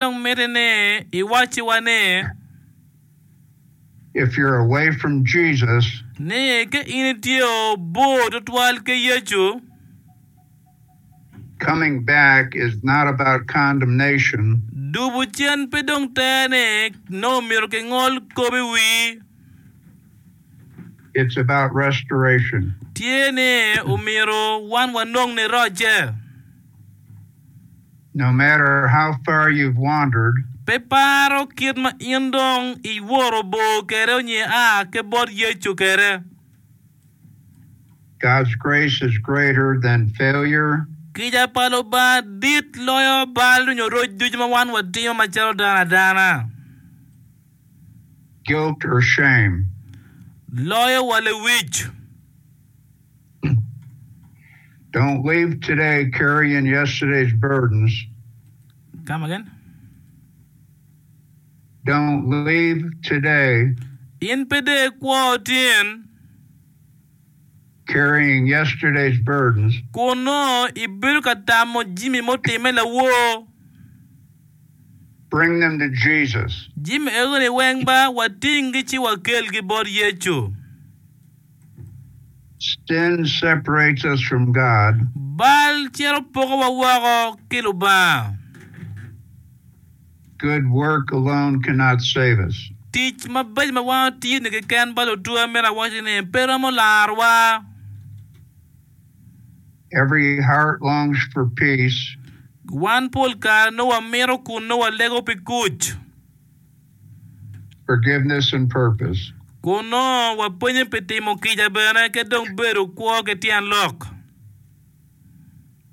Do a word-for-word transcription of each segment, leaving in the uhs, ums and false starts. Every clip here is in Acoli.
Dong mitte ni iwacciwa ni. If you're away from Jesus, Ni ka in itye bor tutwal ki Yecu, coming back is not about condemnation, dubu cen pe dong tere ni nongo myero kingol kop i wii. it's about restoration. Tye ni omyero wan wanong nirocce. No matter how far you've wandered, Pe paro kit ma in dong iwoto bor kwede onyo ia ki bot Yecu kwede. God's grace is greater than failure, Kica pa Lubanga dit loyo bal onyo roc ducu ma wan watimo macalo dano adana. guilt, or shame. Loyo wa lewic. Don't leave today carrying yesterday's burdens. Come again? Don't leave today In pe dong ikwo tin carrying yesterday's burdens. kun nongo ibedo ka tamo jami mutime lawor. Bring them to Jesus. Jami ego-ni weng ba watinggi ci wakelgi bot Yecu. Sin separates us from God, Bal cito pokowa woko ki Lubanga. Good work alone cannot save us. Tic mabeco ma wan otiyo-ni keken ba lutwa myero awaci ni pe romo larowa. Every heart longs for peace, Wan pol kare nongo wamito kun nongo walego pi kuc. forgiveness, and purpose. Kun nongo wapenyo pi timo kica bene ki dong bedo kwo ki tyen lok.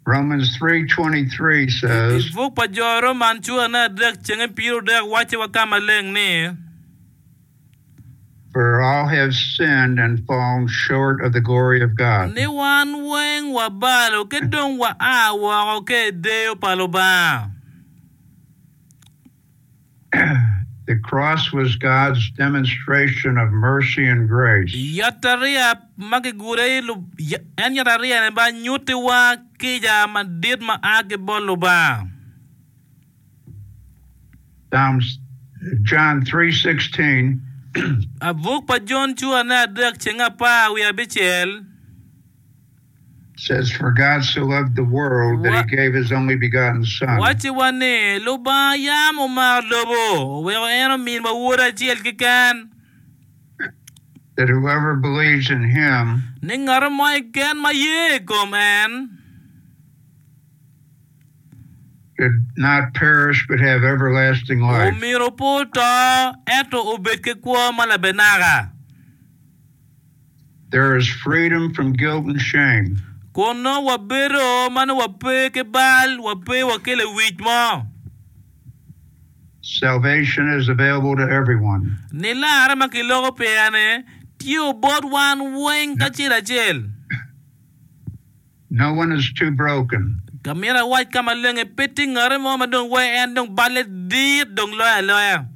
Romans three twenty-three I says, buk pa jo Roman cura me adek cenge pyera adek wacciwa ka maleng ni, "For all have sinned and fallen short of the glory of God." Ni wan weng wabalo ki dong wa a woko ki i deyo pa Lubanga. The cross was God's demonstration of mercy and grace. Yatariya ma kigure i en yatariya ni ba nyutiwa kica madit ma a ki bot Lubanga. Psalms John three sixteen Buk pa Jon cura me adek ceng apar wiye abicel says, "For God so loved the world that he gave his only begotten Son, wacciwa ni Lubanga yam omaro lobo oweko en ominwa wode acel keken that whoever believes in him ni ngat mo keken ma ye i kom en should not perish but have everlasting life." Omyero pe oto ento obed ki kwo ma labenaka. There is freedom from guilt and shame. Kun nongo wabedo ma nongo wape ki bal wape wa ki lewic mo. Salvation is available to everyone. Nilarre ma kiloko pire-ni tye bot wan weng kacel acel. No one is too broken, Ka myero awac ka maleng pe tye ngati mo ma dong wai en dong balle dit dong loyo aloya.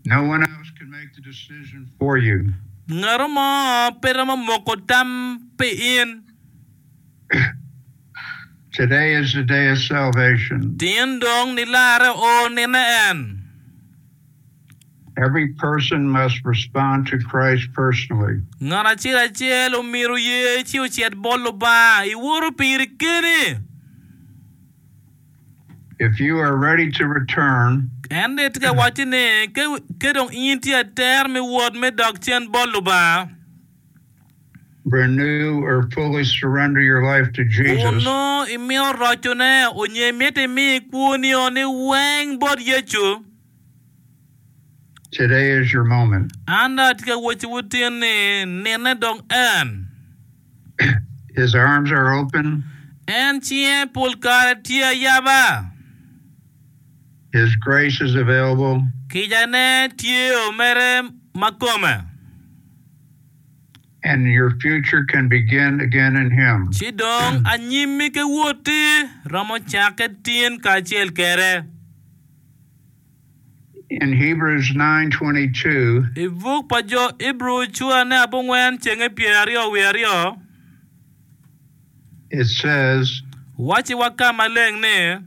No one else can make the decision for you. Ngati mo pe romo moko tam pi in. Today is the day of salvation. Tin dong nilarre o nine en. Every person must respond to Christ personally. Ngat acel acel omyero ye ci ocit bot Lubanga iwoto piri keni. If you are ready to return, En de tye ka waco ni ke dong in tye ater me wot me dok cen bot Lubanga, renew or fully surrender your life to Jesus, Onongo imito rocone onyo imito imi kwonio ni weng bot Yecu, today is your moment. An dong atye ka wacciwu tin ni nine dong en. His arms are open. En cinge pol kare tye ayaba. His grace is available. Kicane tye omere ma kome. And your future can begin again in Him. Ci dong anyimmi ki woti romo cakke tin kacel kede. In Hebrews nine twenty-two, I buk pa jo Ibru cura ne abongwen cenge pyera aryo wiye aryo it says, wacciwa ka maleng ni,